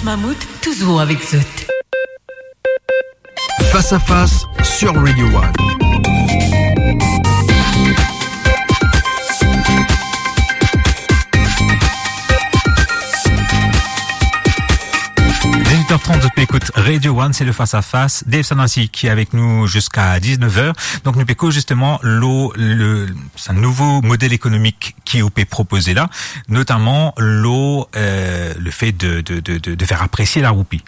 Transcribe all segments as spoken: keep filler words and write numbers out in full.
Mammouth, toujours avec zot. Face à face sur Radio One. Dix-huit heures trente, zot pe ekout Radio One, c'est le Face à Face. Dave Sanasi qui est avec nous jusqu'à dix-neuf heures. Donc, nou pe koz justement lor le, sa nouvo model ekonomik ki ou pe propoze la, notamment lor, euh, le fait de, de, de, de, de faire apprécier la roupie.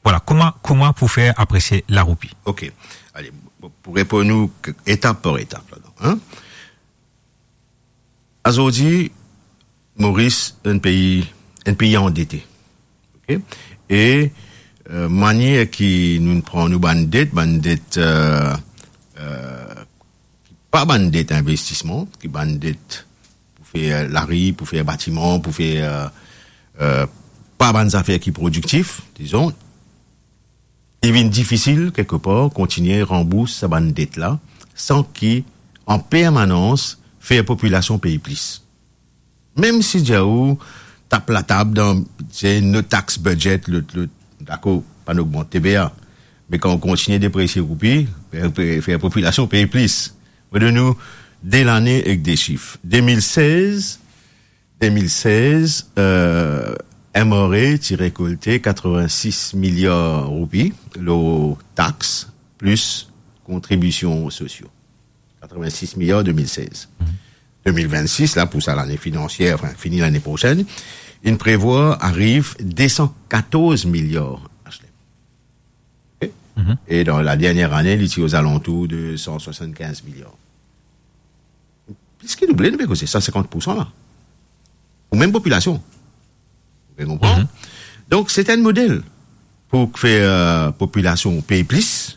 Voilà, kouma, kouma pou fer apresie laroupi? Ok. Ale, pou reponn ou k-, etap par etap ladan, hein? Azordi, Moris, enn pei, enn pei andete. Ok? E, euh, manier ki nou pran nou bann det, bann det, euh, euh, ki pa bann det investisman, ki bann det pou fer lari, pou fer batiman, pou fer, euh, euh, pa bann zafer ki prodiktif, dizon, li vinn difisil, kelkepar, kontigne ranbours sa bann det la, san ki an permanans fer popilasion pey plis. Mem si dir ou tap latab dan, se no tax budget, lot, lot, dakor, pa nou ogmant T V A, me kan ou kontigne depresie roupi, fer, fer, fer popilasion pey plis. Mo donn ou de lane ek de sif. De mil sez, de mil sez, euh, M R A ti rekolte katrevin-sis miliar roupi lor tax plis kontribision sosio. Katrevin-sis miliar de mil sez. Mhm. De mil vinn-sis, la, pou sa lane finansier, anfin, fini lane prosenn, inn prevwar ariv de san katorz miliar, Ashley. Ok? Mhm. E dan la dernier ane, li ti ozalantour de san swasann-kinz miliar. Plis ki double, nou pe koze san sinkant poursan la. Pou mem popilasion. Ou pe konpran? Mhm. Donk, se enn model pou fer, euh, popilasion pey plis,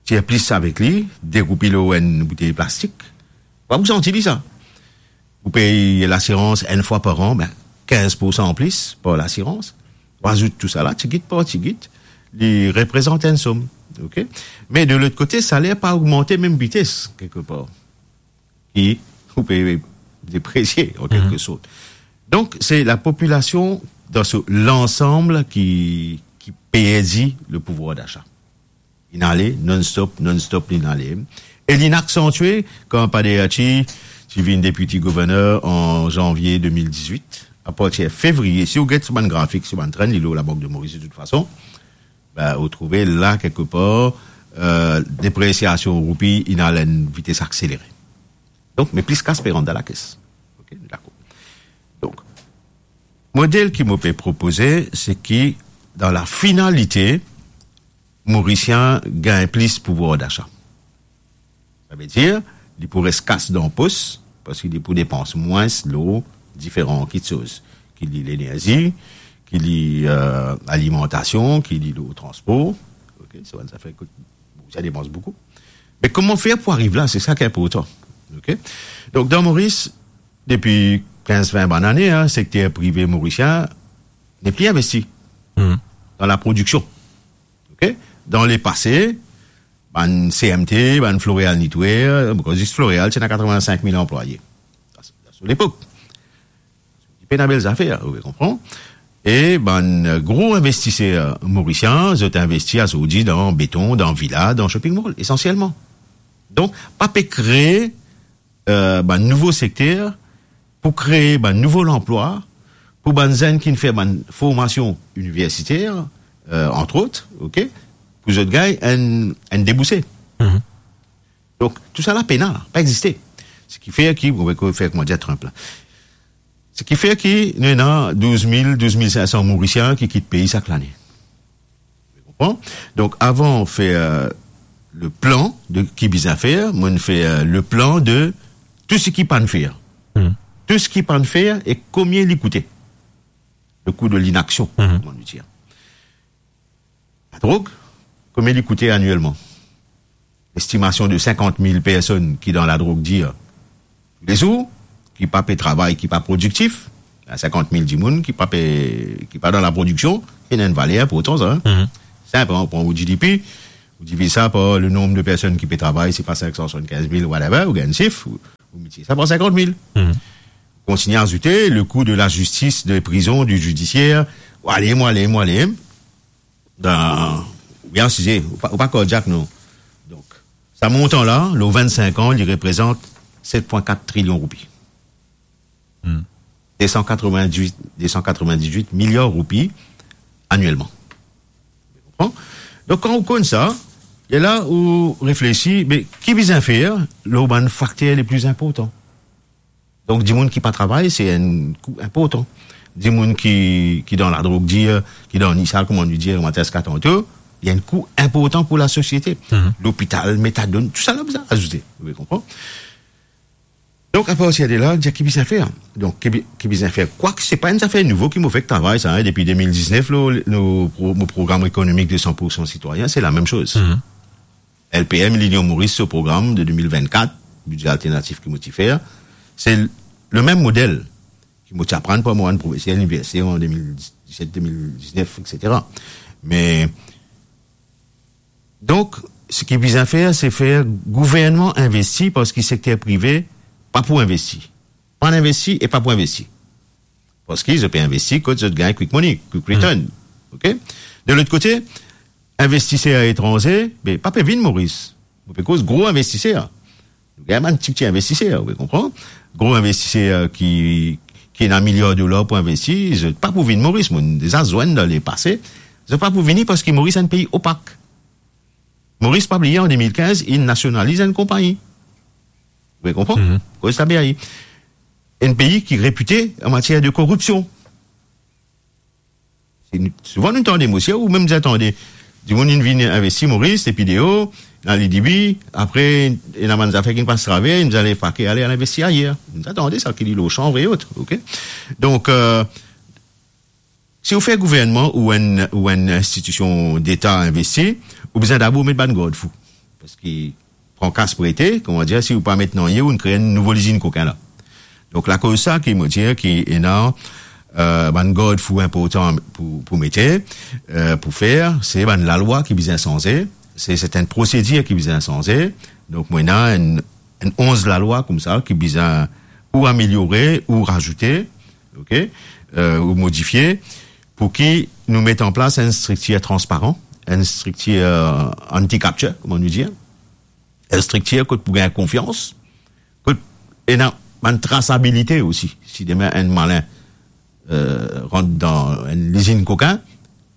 tir plis avek li, de roupi lor enn boutey plastik. Pa pou santi li sa. Ou pey lasirans enn fwa par an, be, kinz poursan anplis par lasirans. Ou azout tousala, tigit par tigit, li reprezant enn som. Ok? Me de lot kote, saler pa ogmante mem vites, kelkepar. Ki ou pe depresie, an, mhm, kelke sort. Donk, se lapopilasion dan so lansam ki, ki perdi le pouvwar dacha. Inn ale, non-stop, non-stop, inn ale. E linn aksantie kan Padre Hachi ti vinn deputy governor an zanvie de mil dizwit. Apartir fevriye, si ou get so bann grafik, so bann trend, li lor Labank de Moris de tout fason, be, ou trouve la, kelkepar, euh, depresiasion roupi inn al enn vites akselere. Donk, me plis kas pe rant dan lakes. Ok, dakor. Donk, model ki mo pe propoze, se ki, dan lafinalite, Morisien gagn plis pouvwar dacha. Savedir, li pou res kas dan pos, parski li pou depans mwins lor diferan kitsoz, ki li lenerzi, ki li, euh, alimantasion, ki li lor transpor. Ok, sa bann zafer kot Morisien depans boukou. Me kouma fer pou ariv la, se sa ki inportan. Ok? Donk, dan Moris, depi kinz vin bann ane, hein, sekter prive morisien nepli investi, hmm, dan laprodiksion. Ok? Dan lepase, bann C M T, bann Floréal Knitwear, zis Floréal, ti ena katrevin-sink mil anplwaye. Sa, se, sa, se lepok. Li pena bel zafer, ou konpran? E bann gro investiser morisien, zot investi azordi dan beton, dan vila, dan shopping mall, esansielman. Donk, pa pe kree, euh, bann nouvo sekter, pou kree bann nouvo lanplwa, pou bann zenn ki fer bann formasion iniversiter, euh, antrot, ok, pou zot gagn enn, enn debouse. Mhm. Donk, tousala pena, pa existe. Seki fer ki, mo pe fer kouma dir Trump la. Seki fer ki nou ena douz mil, douz mil sink san Morisien ki kit pei sak lane. Ou konpran? Donk, avan fer, euh, le plan de ki bizin fer, mo fer, euh, le plan de tou seki pa'nn fer. Hmm. Tou seki pa'nn fer e komie li koute. Le kou de linaksion, hmm, kouma nou dir. Ladrog, komie li koute anielman? Estimasion de sinkant mil personn ki dan ladrog dir toulezour, ki pa pe travay, ki pa prodiktif. Sinkant mil dimoun ki pa pe, ki pa dan laprodiksion, ena enn valer inportan sa, hein. Mhm. Sinp, hein, ou pran ou G D P, ou diviz sa par le nonb de personn ki pe travay, se pa sink san swasann-kinz mil, whatever, ou gagn sif, ou, ou miltipliye sa par sinkant mil. Mhm. Kontigne azoute le kou de lazistis, de prizon, di zidisier, Ou ale, ou ale, ou ale. Dan, ou bien size, ou pa, ou pa kardiak, non. Donk, sa montan la, lor vennsenk an, li reprezant set pwin kat trilion roupi. Hmm. De san katrovin-dizuit, de san katrovin-dizuit miliar roupi anielman. Konpran? Donk, kan ou konn sa, e la ou reflesi, me ki bizin fer lor bann fakter le pli inportan? Donk, dimoun ki pa travay, se enn kou inportan. Dimoun ki, ki dan ladrog dir, ki dan nisal, kouma nou dir, kouma ti Aska tanto, li enn kou inportan pou lasosiete. Mhm. Lopital, metadone, tousala bizin azoute. Ou konpran? Donk, apartir de la, dir ki bizin fer. Donk, ki bi-, ki bizin fer. Kwak se pa enn zafer nouvo ki mo fek travay sa, hein, depi de mil diznef, lo, lo pro-, mo program ekonomik de san pour san sitwayen, se lamem soz. Mhm. L P M, Linion Moris, so program de de mil vennkat, bidze alternatif ki mo ti fer, se l-, le mem model ki mo ti aprann par mo bann profeser liniversite an de mil diset, de mil diznef, et cetera. Me, donk, seki bizin fer, se fer gouvernman investi, parski sekter prive pa pou investi. Pa investi e pa pou investi. Parski zot pe investi kot zot gagn quick money, quick return. Hmm. Ok? De lot kote, investiser etranze, be, pa pe vinn Moris. Mo pe koz gro investiser. Nou gagn bann tipti investiser, ou pe konpran? Gro investiser ki, ki ena miliar dolar pou investi, zot pa pou vinn Moris. Mo deza zwenn dan lepase, zot pa pou vini parski Moris enn pei opak. Moris, pa bliye, an de mil kinz, inn nasionaliz enn konpagni. Ou pe konpran? Mhm. Koz tabe aye. Enn pei ki repite an matier de koripsion. Si nou, souvan nou tande, mo sir, ou mem deza tande, dimoun inn vinn investi Moris, depi deor, dan lidibi, apre, ena bann zafer ki pas traver, inn ale pake, ale, al investi ayer. Nou deza tande sa, ki li lor chanv e ot, ok? Donk, euh, si ou fer gouvernman ou enn, ou enn institision deta investi, ou bizin dabor met bann gardfou. Parski pran kas prete, kouma dir, si ou pa met nanye, ou kre enn nouvo lizinn kokin la. Donk, lakoz sa ki mo dir ki ena, euh, bann gardfou inportan pou, pou mete, euh, pou fer, se bann lalwa ki bizin sanze, se sertin prosedir ki bizin sanze. Donk, mo ena enn, enn onz lalwa koumsa ki bizin ou ameliore, ou razoute, ok, euh, ou modifie, pou ki nou met an plas enn striktir transparan, enn striktir, euh, anti-capture, kouma nou dir, enn striktir kot pou gagn konfians, kot ena bann trasabilite osi. Si demin enn malin, euh, rant dan enn lizinn kokin,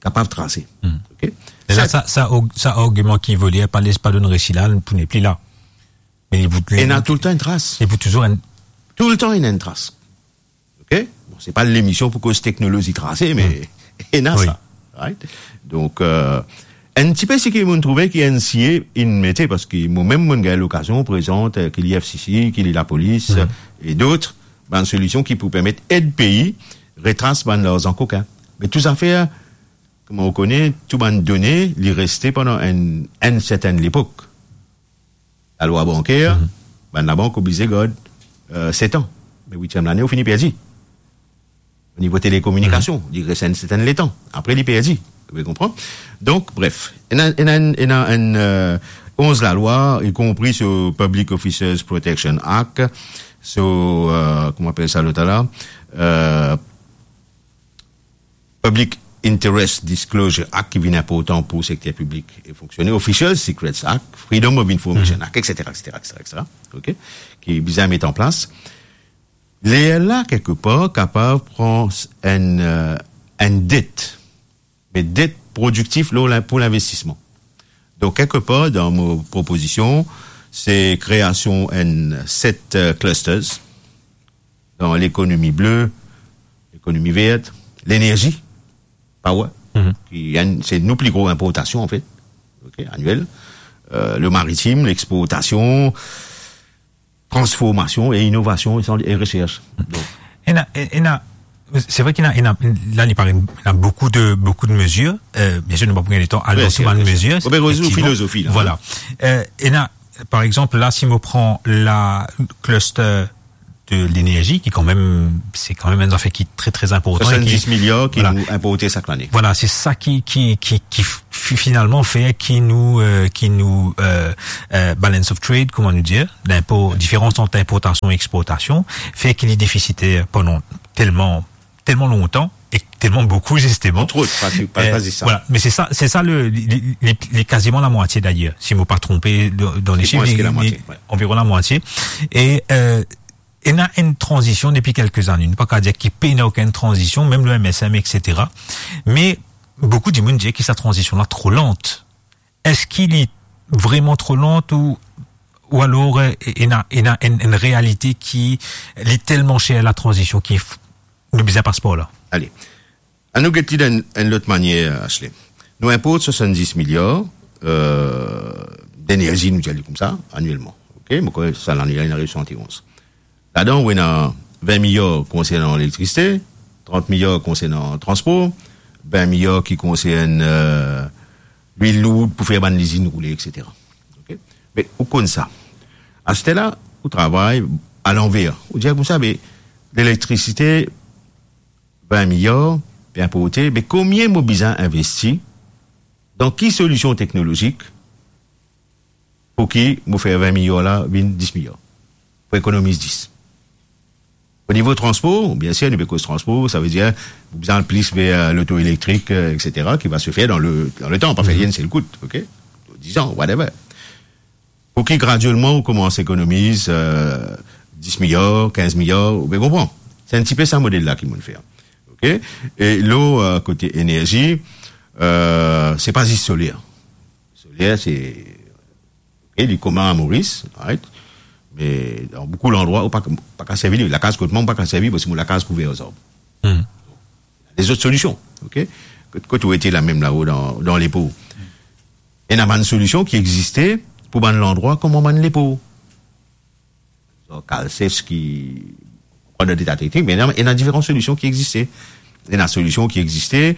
kapav trase. Hmm. Ok? E la, sa, sa, sa arg-, sa argiman ki Volière pa les pa donn resi la, pou nepli la. Me li pou, ena toultan enn tras. Li pou touzour enn... Toultan ena enn tras. Ok? Bon, se pa lemision pou koz teknolozi trase, me ena sa. Right? Donk, euh, enn tipe seki mo'nn trouve ki N C A inn mete, parski mo mem mo'nn gagn lokazion prezant, euh, ki li F C C, ki li lapolis, euh, e dot, bann solision ki pou permet ed pei retras bann larzan kokin. Me tou zafer, kouma ou kone, tou bann done, li reste pandan enn, enn sertenn lepok. Lalwa banker, bann labank oblize gard, euh, set an. Me witiem lane, ou fini perdi. O nivo telekominikasion, li res enn sertenn letan. Apre, li perdi. Ou konpran? Donk, bref, ena, ena, ena enn, euh, onz lalwa, y compris so Public Officers Protection Act, so, euh, kouma apel sa lot la, euh, Public Interest Disclosure Act ki vinn inportan pou sekter piblik e fonksione, Official Secrets Act, Freedom of Information Act, et cetera, et cetera, et cetera, et cetera, ok, ki bizin met an plas. Lerla, kelkepar, kapav pran enn, euh, enn det, me det prodiktif lor lin-, pou linvestisman. Donk, kelkepar, dan mo propozision, se kreasion enn set, euh, clusters, dan lekonomi ble, lekonomi ver, lenerzi, power, ki enn, se nou pli gro inportasion, anfet, ok, aniel, euh, le maritim, lexportasion, transformasion e inovasion e san-, e resers. Donk, ena, e-, ena, se vre ki ena, ena, la, li pare, ena boukou de, boukou de mezir. Euh, bien sir, nou pa pou gagn letan al dan tou bann mezir. Wi, bien sir, bien sir. Bon, ben, rezoud filozofi, la, hein. Voilà. Euh, ena, par exanp, la, si mo pran la cluster de lenerzi, ki kanmem, se kanmem enn zafer ki tre, tre inportan e ki, soisanndis miliar ki, voilà, nou inporte sak lane. Voilà, se sa ki, ki, ki, ki fi-, finalman fer ki nou, euh, ki nou, euh, euh, balance of trade, kouma nou dir, linpor, diferans ant inportasion e exportasion, fer ki li defisiter pandan telman, telman lontan, e telman boukou, zisteman. Entre autres, pas, pas, Euh, pas zis sa. Voilà, me se sa, se sa le, li, li, li, li kaziman lamwatie d'ailleurs, si mo pa tronpe dan, dan Li lezif, mwins ki li, lamwatie, li, ouais. Anviron lamwatie. E, euh, ena enn tranzision depi kelke zane. Nou pa kav dir ki pena okenn tranzision, mem le M S M, et cetera. Me boukou dimoun dir ki sa tranzision la tro lant. Eski li vreman tro lant ou, ou alor, euh, ena, ena enn, enn realite ki li telman ser la tranzision ki f-, nou bizin pas par la? Ale. Annou get li dan enn, enn lot manier, Ashley. Nou inport swasanndis miliar, euh, denerzi, nou dir li koumsa, anielman. Ok? Mo krwar sa lane la, inn ariv swasann-e-onz. Ladan, ou ena vin miliar konsernan lelektrisite, trant miliar konsernan transpor, vin miliar ki konsern, euh, lwil lour pou fer bann lizinn roule, et cetera. Ok? Me ou konn sa. Aster la, ou travay alanver. Ou dir koumsa, me lelektrisite, vin miliar, pe inporte, me konbien mo bizin investi, dan ki solision teknolozik, pou ki mo fer vin miliar la vinn dis miliar, pou ekonomiz dis. O nivo transpor, bien sir, nou pe koz transpor, savedir, nou bizin al plis ver, euh, loto elektrik, euh, et cetera, ki va se fer dan le, dan le tan, pa fer li enn sel kout, ok? Diz an, whatever. Pou ki gradielman ou koumans ekonomiz, euh, dis miliar, kinz miliar, ou pe konpran. Se enn tipe sa model la ki mo'nn fer. Ok? E lor, euh, kote enerzi, euh, se pa zis soler. Soler, se, ok, li komin a Moris, right? Me dan boukou landrwa, ou pa, pa kav servi li. Lakaz kot mwa, ou pa kav servi, parski mo lakaz kouver ar zarb. Hmm. Lezot solision, ok? Kot, kot ou ete la mem lao dan, dan Lepo. Ena bann solision ki existe pou bann landrwa kouma bann Lepo. Zan Kalses ki, pa dan deta teknik, me ena, ena diferan solision ki existe. Ena solision ki existe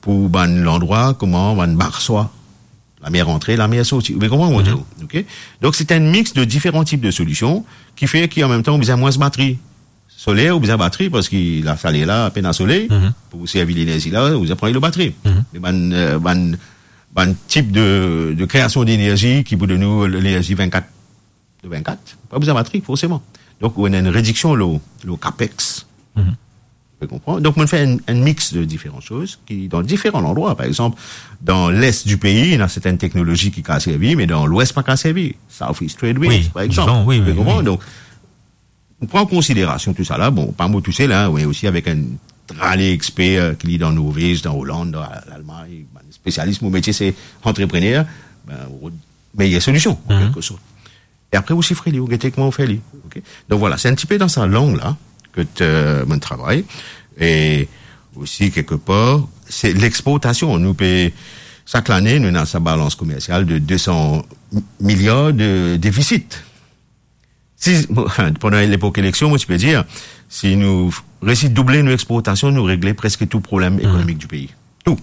pou bann landrwa kouma bann Marswa. Lamer antre, lamer sorti. Ou pe konpran mo dir, ok? Donk, se enn mix de diferan tip de solision ki fer ki, an mem tan, ou bizin mwins batri. Soler, ou bizin batri, parski lasaler la, pena soley, pou servi lenerzi la, ou bizin pran li lor batri. Me bann, euh, bann, bann tip de, de kreasion denerzi ki pou donn ou lenerzi vinn-kat de vinn-kat, pa bizin batri, forseman. Donk, ou ena enn rediksion lor, lor capex. Ou konpran? Donk, mo'nn fer enn, enn mix de diferan soz ki, dan diferan landrwa, par exanp, dan les di pei, ena sertin teknolozi ki kav servi, me dan lwes pa kav servi. Southeast Trade Winds, par exanp. Ou konpran? Donk, nou pran an konsiderasion tou sa la, bon, pa mo tousel, hein, me osi avek enn trale exper, euh, ki li dan Norvez, dan Oland, dan Lalmagn, bann spesialis, mo metie se antreprener, ben, ou rod meyer solision, an kelke sort. E apre, ou sifre li, ou gete kouma ou fer li, ok? Donk, vwala, se enn tipe dan sa lang la ke, euh, mo'nn travay. E osi, kelkepar, se lexportasion. Nou pe, sak lane, nou ena sa balans komersial de de san miliar de defisit. Si, bon, pandan lepok eleksion, mo ti pe dir, si nou resi double nou exportasion, nou regle preske tou problem ekonomik di pei. Tou,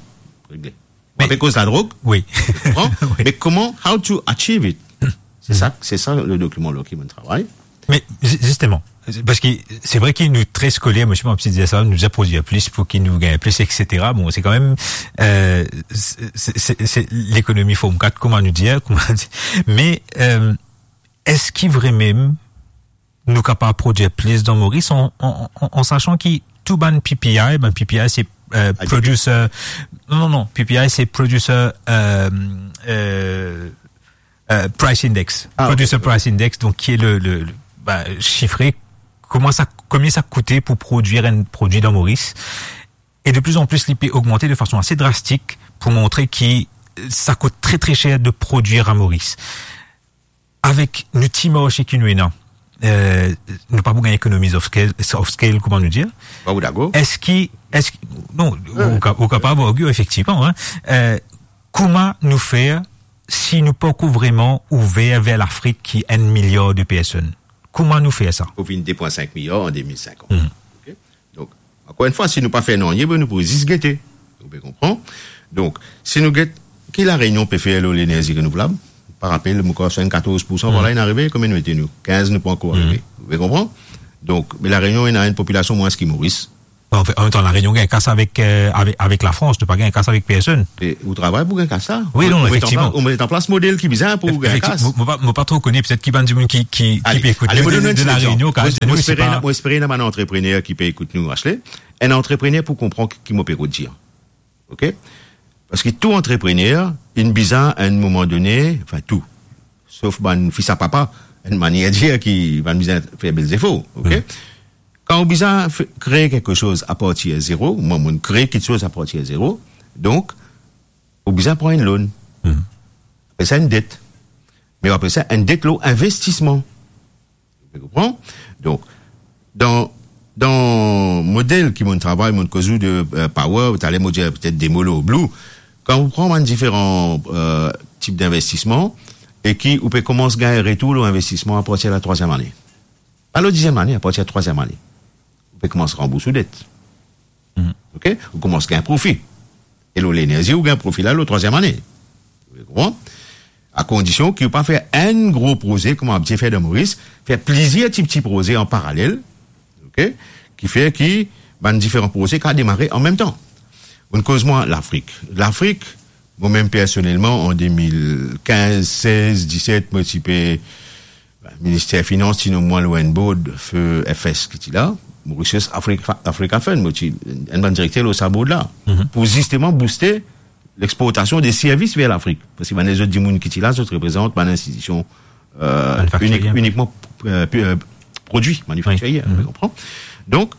regle. Nou pe koz ladrog, wi. Konpran? Wi. Me koman, how to achieve it? Se sa, se sa le dokiman lor ki mo'nn travay. Me zi-, zisteman, parski se vre ki nou tre skoler, mo osi, mo ti dir sa, nou bizin prodir plis pou ki nou gagn plis, et cetera. Bon, se kanmem, euh, se, se, se, se lekonomi form kat, kouma nou dir, kouma nou dir. Me, euh, eski vremem nou kapav prodir plis dan Moris, an, an, an, an sasan ki tou bann P P I, bann P P I se, euh, producer, non, non, non, P P I se producer, euh, euh, euh, price index. Ah, ok. Producer price index, donk ki e le, le, le, ba, sifre kouma sa, konbien sa koute pou prodir enn prodwi dan Moris. E de pli an pli, li pe ogmante de fason ase drastik pou montre ki sa kout tre, tre ser de prodir a Moris. Avek nou ti marse ki nou ena, euh, nou pa pou gagn economies of scale, of scale, kouma nou dir. Bravo, dakor. Eski, eski, non, ou ka-, ou kapav argue, efektivman, hein. Euh, kouma nou fer si nou pankor vreman ouver ver Lafrik ki enn miliar de personn? Kouma nou fer sa? Pou vinn de pwin sink miliar an de mil sinkant. Mhm. Ok? Donk, ankor enn fwa, si nou pa fer nanye, be nou pou zis gete. Ou pe konpran? Donk, si nou get ki La Réunion pe fer lor lenerzi renouvlab, par rapel, mo krwar swasannkatorz poursan, vwala, inn arive, konbien nou ete nou? Kinz, nou pankor arive. Ou pe konpran? Donk, me La Réunion ena enn popilasion mwins ki Moris. An, an mem tan, La Rénion gagn kas avek, euh, avek, avek Lafrans, nou pa gagn kas avek personn. E ou travay pou gagn kas la. Wi, non, efektivman. Ou met an pla-, ou met an plas model ki bizin pou gagn kas. Mo, mo pa, mo pa tro kone, petet ki bann dimoun ki, ki, ki pe ekout nou de, de La Rénion, kan nou, si pa. Mo espere ena bann antreprener ki pe ekout nou, Ashley. Enn antreprener pou konpran ki mo pe rod dir. Ok? Parski tou antreprener, inn bizin, a enn moman done, anfin tou, sof bann fis a papa, enn manier dir ki bann bizin fer bel zefor, ok? Kan ou bizin fe-, kree kiksoz apartir zero, mwa, mo'nn kree kiksoz apartir zero, donk, ou bizin pran enn loan. Apel sa enn det. Me apre sa, enn det lor investisman. Ou konpran? Donk, dan, dan model ki mo'nn travay, mo'nn koz ou de, euh, Power, taler mo dir petet de mo lor Blue. Kan ou pran bann diferan, euh, tip dinvestisman e ki ou pe koumans gagn retour lor investisman apartir latrwaziem ane. Pa lor diziem ane, apartir latrwaziem ane. Ou pe koumans ranbours ou det. Ok? Ou koumans gagn profi. E lor lenerzi, ou gagn profi la lor trwaziem ane. Ou konpran? A kondision ki ou pa fer enn gro proze kouma abitie fer dan Moris, fer plizier ti pti proze an paralel, ok? Ki fer ki bann diferan proze kapav demare an mem tan. Mo'nn koz mwa Lafrik. Lafrik, mo mem personelman, an de mil kinz, sez, diset, mo ti pe Minister Finans ti nom mwa lor enn board, Feu F S ki ti la, Mauritius Africa, Africa Fund, mo ti enn bann direkter lor sa board la, pou zisteman bouste lexportasion de servis ver Lafrik. Parski bann lezot dimoun ki ti la, zot reprezant bann institision, euh, inik-, inikman, euh, pi-, euh, prodwi manifaktirie, ou konpran? Donk,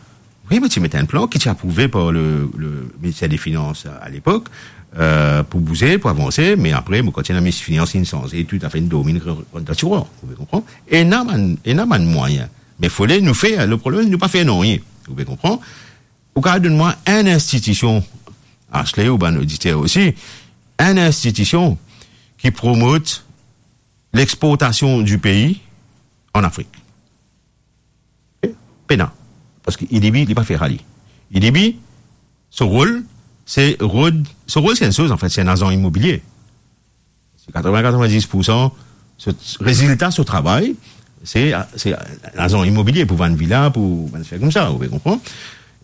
wi, mo ti met enn plan ki ti aprouve par le, le Minister de Finans a, a lepok, euh, pou bouze, pou avanse, me apre, mo kontign, Minister Finans inn sanze, toutafe inn dormi, inn rann dan tirwar, ou pe konpran? Ena bann, ena bann mwayin. Me fode nou fer, le problem, nou pa fer nanye, ou pe konpran? Ou kapav donn mwa enn institision, Ashley ou bann oditer osi, enn institision ki promot lexportasion di pei an Afrik? Pena. Parski ADB, li pa fer sa li. ADB, so rol, se rod, so rol, se enn soz, anfet, se enn azan imobilie. Se katreven, katreven-dis poursan so rezilta so travay, se, se azan imobilie pou vann vila, pou vann fer koumsa, ou pe konpran?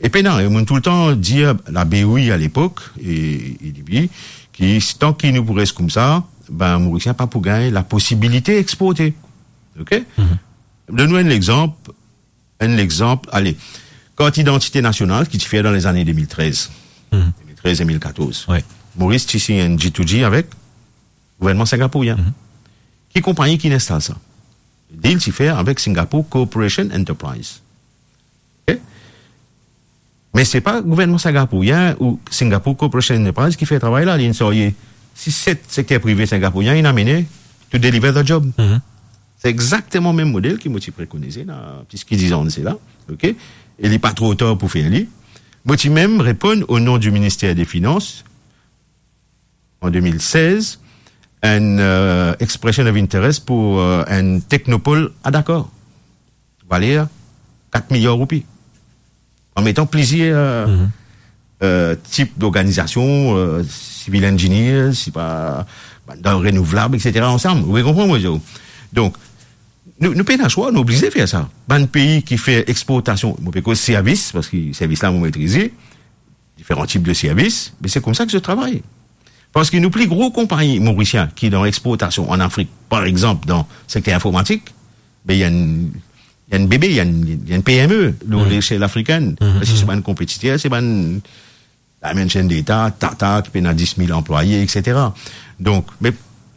E pena, e mo'nn toultan dir la BOI a lepok, e, e ADB, ki tanki nou pou res koumsa, be, Morisien pa pou gagn laposibilite exporte. Ok? Donn nou enn lexanp, enn lexanp, ale, kart idantite nasional ki ti fer dan lezane de mil trez. De mil trez, de mil katorz. Wi. Moris ti sign enn G to G avek gouvernman singapourien. Ki konpagni ki inn instal sa? Deal ti fer avek Singapore Corporation Enterprise. Ok? Me se pa gouvernman singapourien ou Singapore Corporation Enterprise ki fer travay la, li inn sarye sis, set sekter prive singapourien, inn amene to deliver the job. Se exakteman mem model ki mo ti prekonize la, plis ki diz an de sela, ok? E li pa tro tar pou fer li. Mo ti mem reponn o nom di Minister de Finans, an de mil sez, enn, euh, expression of interest pou, euh, enn technopole a Dakar. Valer kat miliar roupi. An metan plizier, euh, euh, tip d'organizasion, euh, civil engineers, sipa, bann dan renouvlab, et cetera, ansam. Ou pe konpran, mo dir ou? Donk, nou, nou pena swa, nou oblize fer sa. Bann pei ki fer exportasion, mo pe koz servis, parski servis la, mo metrize, diferan tip de servis, me se koumsa ki zot travay. Parski nou pli gro konpagni morisien ki dan exportasion an Afrik, par exanp, dan sekter informatik, be, li enn, li enn bebe, li enn, li enn PME, lor leshel afrikenn. Parski se bann konpetiter, se bann Dimension Data, Tata, ki pena dis mil anplwaye, et cetera. Donk, me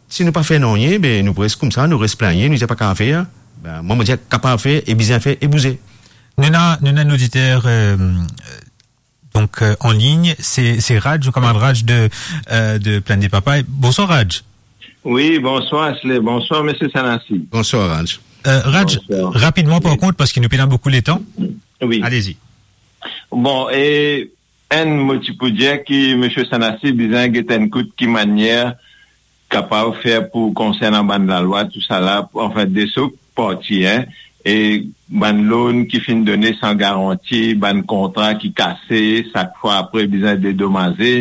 si nou pa fer nanye, be, nou pres koumsa, nou res plingne, nou dir pa kapav fer, be, mwa, mo dir kapav fer, e bizin fer, e bouze. Nou ena, nou ena enn oditer, euh, donk, euh, an lign, se, se Raj, nou kamarad Raj de, euh, de Plaine des Papayes. Bonswar, Raj. Wi, bonswar, Ashley. Bonswar, Misie Sanasi. Bonswar, Raj. Euh, Raj, rapidman, par kont, parski nou pena boukou letan. Wi. Alezi. Bon, e enn, mo ti pou dir ki Misie Sanasi bizin get enn kout ki manier kapav fer pou konsernan bann lalwa, tousala, anfin, de so parti, en, e bann loan ki finn done san garanti, bann kontra ki kase, sak fwa apre bizin dedomaze,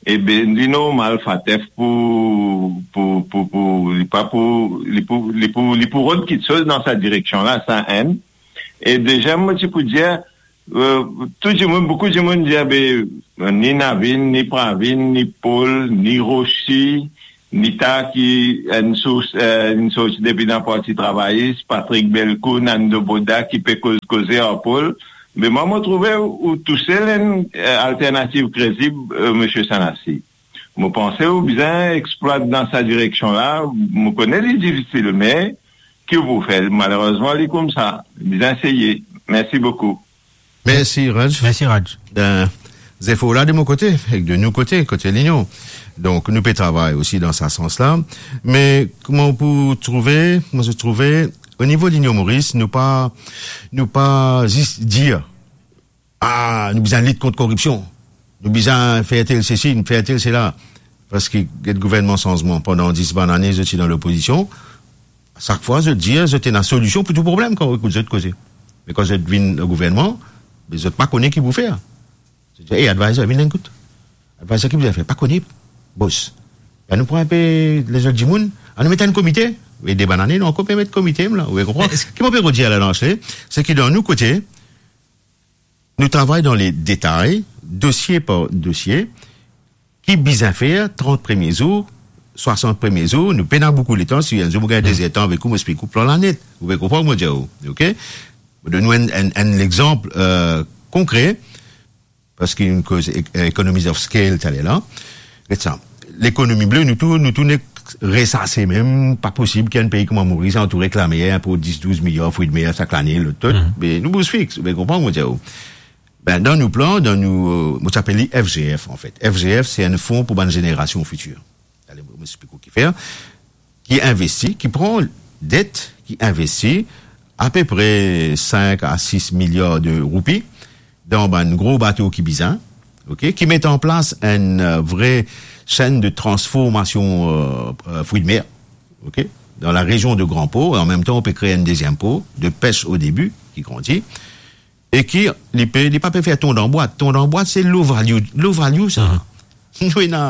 e be, li normal, FATF pou, pou, pou, pou, li pa pou, li pou, li pou, li pou rod kiksoz dan sa direksion la, sa enn. E deziem, mo ti pou dir, Eh, tou dimoun, boukou dimoun dir, be, ni Navin, ni Pravin, ni Paul, ni Rosi, ni ta ki enn sours, eh, enn sorti depi dan Parti Travayis, Patrick Bellecourt, Nando Boda ki pe koz koze ar Paul. Me mwa, mo trouve ou tousel enn, eh, alternativ kredib, eh, Misie Sanasi. Mo panse ou bizin explwat dan sa direksion la. Mo kone li difisil, me ki ou pou fer? Malerezman, li koumsa. Bizin eseye. Mersi boukou. Mersi, Raj. Mersi, Raj. Ben, zefor la de mo kote, ek de nou kote, kote Linion. Donk, nou pe travay osi dan sa sans la. Me kouma ou pou trouve, mo trouve, o nivo Linion Moris, nou pa, nou pa zis dir, "Ah, nou bizin lit kont koripsion. Nou bizin fer tel sesi, nou fer tel sela." Parski get gouvernman sanzman, pandan dis bann ane, zot ti dan lopozision. Sak fwa, zot dir, zot ena solision pou tou problem kan ou ekout zot koze. Me kan zot vinn dan gouvernman, be zot pa kone ki pou fer. Zot dir, "Ey, advisor, vinn ekout." Advisor ki bizin fer, pa kone, bos. Anou pran inpe lezot dimoun, anou met enn komite. E de bann ane, nou ankor pe met komite la, ou konpran? Ki mo pe redir la, dan se, se ki dan nou kote, nou travay dan le detay, dosie par dosie, ki bizin fer trant premie zour, swasant premie zour, nou pena boukou letan, si enn zour mo gagn dezertan avek ou, mo explik ou plan la net. Ou pe konpran mo dir ou, ok? Mo donn ou enn, enn, enn lexanp, eh, konkre, parski nou koz ek-, economies of scale taler la. Get sa. Lekonomi ble, nou tou, nou tou nek resase mem, pa posib ki enn pei kouma Moris antoure ek lamer pou dis, douz miliar frwi de mer sak lane, lot, tot. Mhm. Me nou bouz fix, ou pe konpran mo dir ou. Ben, dan nou plan, dan nou, eh, mo ti apel li F G F, anfet. F G F, se enn fon pou bann zenerasion fitir. Ale, mo, mo explik ou ki fer. Ki investi, ki pran det, ki investi apepre sink a sis miliar de roupi dan bann gro bato ki bizin, ok, ki met an plas enn, eh, vre senn de transformasion, eh, eh, frwi de mer, ok, dan la rezion de Gran Por, e an mem tan, ou pe kre enn deziem por de pes o debi, ki grandi, e ki, li pe, li pa pe fer ton dan bwat. Ton dan bwat, se low value, low value sa. Mhm. Nou ena,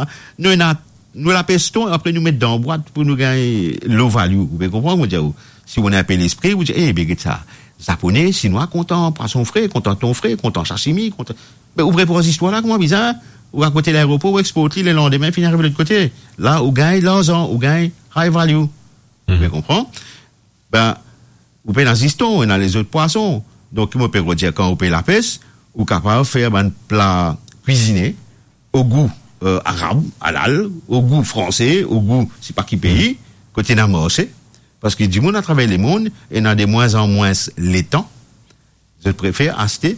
nou ena, nou lapes ton, apre nou met dan bwat pou nou gagn low value. Ou pe konpran, mo dir ou. Si ou ena inpe lespri, ou dir, "Eh, be get sa. Zapone, Sinwa kontan pwason fre, kontan ton fre, kontan sashimi, kontan." Me ou pre pran zistwar la, kouma bizar, ou rakont laeropor, ou export li, lelandime, finn ariv lot kote. La, ou gagn larzan, ou gagn high value. Ou pe konpran? Ben, ou pena zis ton, ou ena lezot pwason. Donk, mo pe redir, kan ou pe lapes, ou kapav fer bann pla kwizine o gou, eh, arab, halal, o gou franse, o gou sipa ki pei, kot ena marse, parski dimoun atraver lemond ena de mwin an mwin letan, zot prefer aste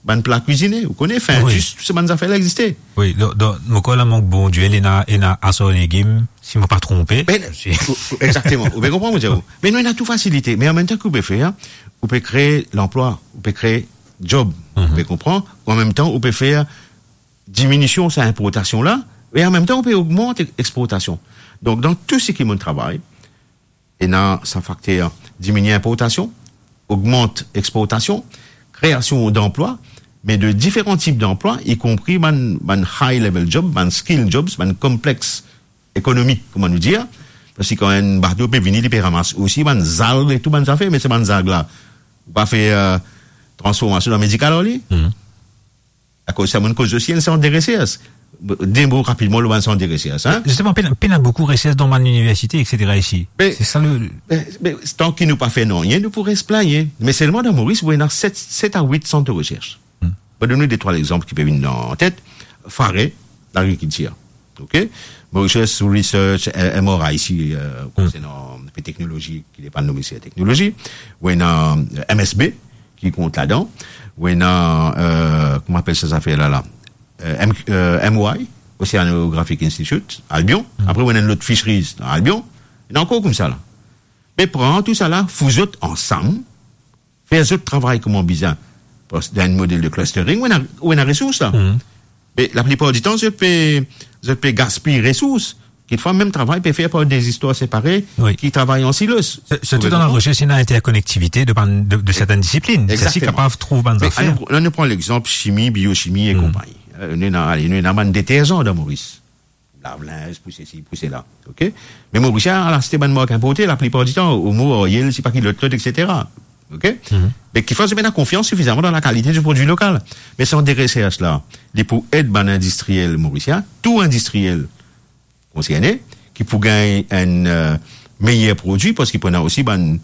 bann pla kwizine. Ou kone, fin, wi, dis, tou se bann zafer la existe. Wi, dan, dan mo krwar la, mank Bondie, ena, ena asar legim, si mo pa tronpe. Ben, si ou, ou, exakteman. Ou pe konpran, mo dir ou. Me nou ena tou fasilite. Me an mem tan ki ou pe fer, ou pe kre lanplwa, ou pe kre job. Mhm. Ou pe konpran? An mem tan, ou pe fer diminision sa inportasion la, e an mem tan, ou pe ogmant ex-, exportasion. Donk, dan tou seki mo travay, ena sa fakter diminie inportasion, ogmant exportasion, kreasion danplwa, me de diferan tip danplwa, ikonpri bann, bann high level job, bann skill jobs, bann konplex ekonomik, kouma nou dir, parski kan enn bato pe vini, li pe ramas osi bann zalg e tou bann zafer, me se bann zalg la, ou pa fer, eh, transformasion dan medikal ar li. Mhm. Akoz sa, mo koz osi enn sant de resers. De mo rapidman lor bann sant de resers, hein? Zisteman, pena, pena boukou resers dan bann liniversite, et cetera isi. Me, se sa le, me, me, tan ki nou pa fer nanye, nou pou res plagne. Me selman dan Moris, ou ena set, set a wit sant de resers. Hmm. Mo donn ou de trwa lexanp ki pe vinn dan tet. Fare, lagrikiltir. Ok? Mauritius Research, eh, M R I isi, eh, hmm, konsernan teknolozi ki depann Minister Teknolozi. Ou ena, eh, M S B, ki kont ladan. Ou ena, eh, kouma apel sa zafer la, la? Eh, M-, eh, M O I, Oceanographic Institute, Albion. Hmm. Apre, ou ena enn lot Fisheries dan Albion. Ena ankor koumsa la. Me pran tou sa la, fou zot ansam, fer zot travay kouma bizin. Parski dan enn model de clustering, ou ena, ou ena resours la. Hmm. Me laplipar ditan, zot pe, zot pe gaspiy resours. Kikfwa, mem travay pe fer par de zistwar separe, wi, ki travay an silos. Sirtou dan laresers, ena interkonektivite de bann, de, de sertenn disiplin. Egzakteman. Sa si kapav trouv bann zafer. Me anou, anou pran lexanp simi, biochimi e, hmm, konpagni. Eh, nou ena, ale, nou ena bann deterzan dan Moris. Lav linz, pou sesi, pou sela. Ok? Me Morisien al aste bann mark inporte, laplipar ditan, Omo, Ariel, sipa ki lot, lot, et cetera. Ok? Mhm. Me ki fer zot pena konfians sifizaman dan lakalite di prodwi lokal. Me sa de resersy la, li pou ed bann indistriel morisien, tou indistriel konserne, ki pou gagn enn, euh, meyer prodwi, parski pou ena osi bann,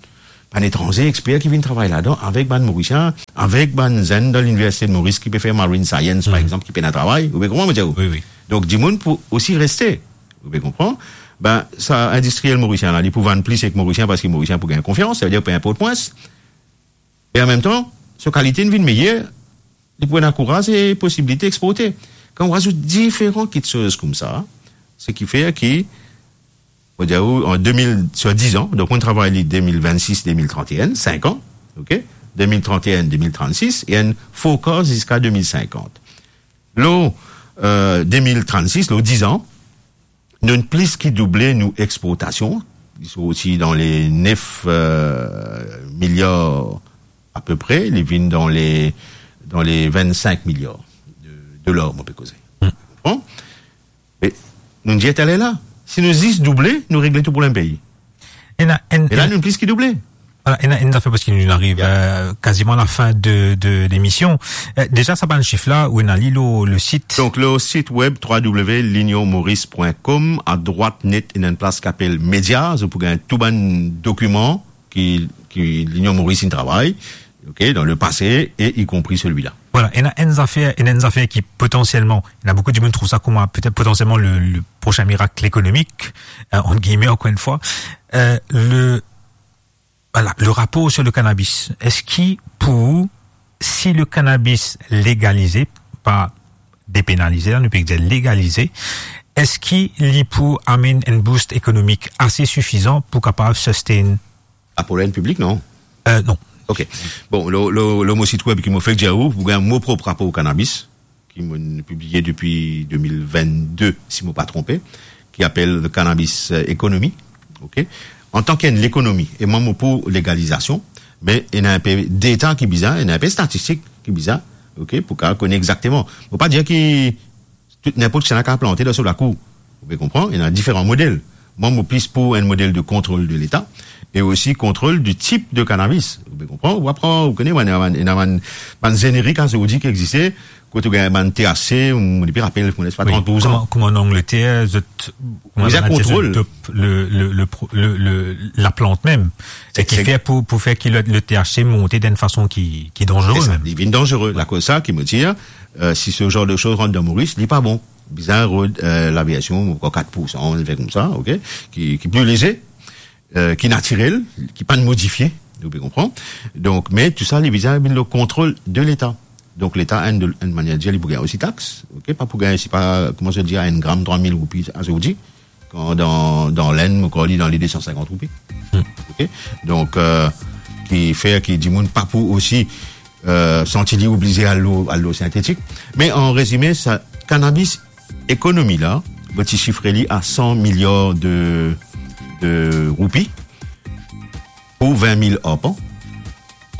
bann etranze exper ki vinn travay ladan, avek bann Morisien, avek bann zenn dan Liniversite de Moris ki pe fer marine science, par Mhm. exanp, ki pena travay, ou pe konpran mo dir ou? Wi, wi. Donk, dimoun pou osi reste, ou pe konpran? Ben, sa indistriel morisien la, li pou vann plis ek Morisien, parski Morisien pou gagn konfians, savedir pou inport mwins. E an mem tan, so kalite inn vinn meyer, li pou ena kouraz e posibilite exporte. Kan ou azout diferan kitsoz koumsa, se ki fer ki, mo dir ou, an de mil, swa dizan, donk mo travay li de mil vennsis, de mil tranteinn, sink an, ok? De mil tranteinn, de mil trannsis, e enn forecast ziska de mil sinkant. Lor, euh, de mil trannsis, lor dizan, nou plis ki double nou exportasion. Li sorti dan le nef, euh, miliar apepre, li vinn dan le, dan le vennsink miliar de dolar, mo pe koze. Hmm. Bon? Me nou dir taler la, si nou zis double, nou regle tou problem pei. Ena enn, E la, enn nou plis ki double. Voilà, ena enn zafer, parski nou ariv, Yeah. euh, kaziman lafin de, de lemision. Euh, deza, sa bann sif la, ou ena li lor le sit. Donk, lor sit web w w w linionmoris pwin kom, adrwat net, ena enn plas ki apel Media, zot pou gagn tou bann dokiman ki, ki Linion Moris inn travay, ok, dan le pase, e ikonpri selwi la. Voilà, ena enn zafer, ena enn zafer ki potansielman, ena boukou dimoun trouv sa kouma petet potansielman le, le prosin mirak ekonomik, euh, ant gilme, ankor enn fwa. Euh, le, voilà, le rapor sur le cannabis. Eski pou ou, si le cannabis legalize, pa depenalize, la, nou pe dir legalize, eski li pou amenn enn boost ekonomik ase sifizan pou kapav sustain? Apel piblik, non? Euh, non. Ok. Bon, lor, lor, lor mo sit web ki mo fek dir ou, pou gagn mo prop rapor cannabis, ki mo pibliye depi de mil vennde, si mo pa tronpe, ki apel The Cannabis, euh, Economy. Ok? Antan ki enn lekonomi, e mwa mo pou legalizasion, me ena inpe deta ki bizin, ena inpe statistik ki bizin, ok, pou kapav kone exakteman. Mo pa dir ki tou, ninport kisannla kapav plante dan so lakour. Ou pe konpran? Ena diferan model. Mwa, mo plis pou enn model de kontrol de Leta e osi kontrol di tip de cannabis. Ou pe konpran? Ou aprann, ou kone, bann, bann, ena bann, bann zenerik azordi ki existe, kot ou gagn bann T H C, mo, mo pi rapel, mo les pa Wi, trant pour san. Kouma, kouma an Angleter, zot, kouma Bizin bann kontrol. Zot dop le, le, le pro-, le, le, laplant mem. E ki Exa- fer pou, pou fer ki le, le T H C monte dan enn fason ki, ki danzere Esa, mem. Li vinn danzere. Lakoz sa ki mo dir, euh, si se zanr de soz rant dan Moris, li pa bon. Bizin rod, euh, laversion, ankor kat pour san, enn zafer koumsa, ok? Ki, ki pli leze, euh, ki natirel, ki pa modifie, ou pe konpran. Donk, me tou sa, li bizin vinn lor kontrol de Leta. Donk, Leta, enn de, enn manier dir, li pou gagn osi tax, ok? Pa pou gagn, se pa, kouma zot dir, enn gram trwa mil roupi azordi, kan dan, dan Lenn, mo krwar li dan le de san sinkant roupi. Hmm. Ok? Donk, euh, ki fer ki dimoun pa pou osi, euh, santi li oblize al lor, al lor sintetik. Me an rezime, sa, cannabis economy la, mo ti sifre li a san miliar de, de roupi pou vin mil arpan,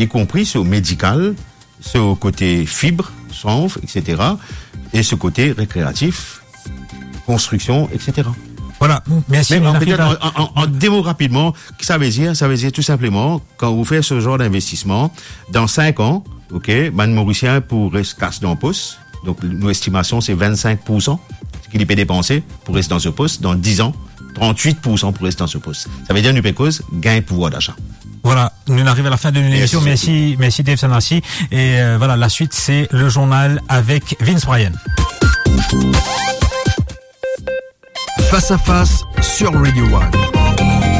ikonpri so medikal, so kote fib, chanvre, et cetera, e so kote rekreatif, konstriksion, et cetera. Voilà, mersi. Me nou an, ariv petet a an, an, an, an de mo rapidman, ki sa ve dir? Sa ve dir tou sinpleman, kan ou fer se zanr dinvestisman, dan sink an, ok, bann Morisien pou res kas dan pos, donk nou estimasion se vennsink pour san ki li pe depanse pou res dan so pos, dan diz an, trantwit pour san pou res dan so pos. Sa ve dir nou pe koz gagn pouvwar dasa. Voilà, nou ariv a lafin de Mersi, lemision. Mersi, mersi Dave Sanassi. E, euh, voilà, la suite, c'est le journal avec Vince Bryan. Face à face sur Radio One.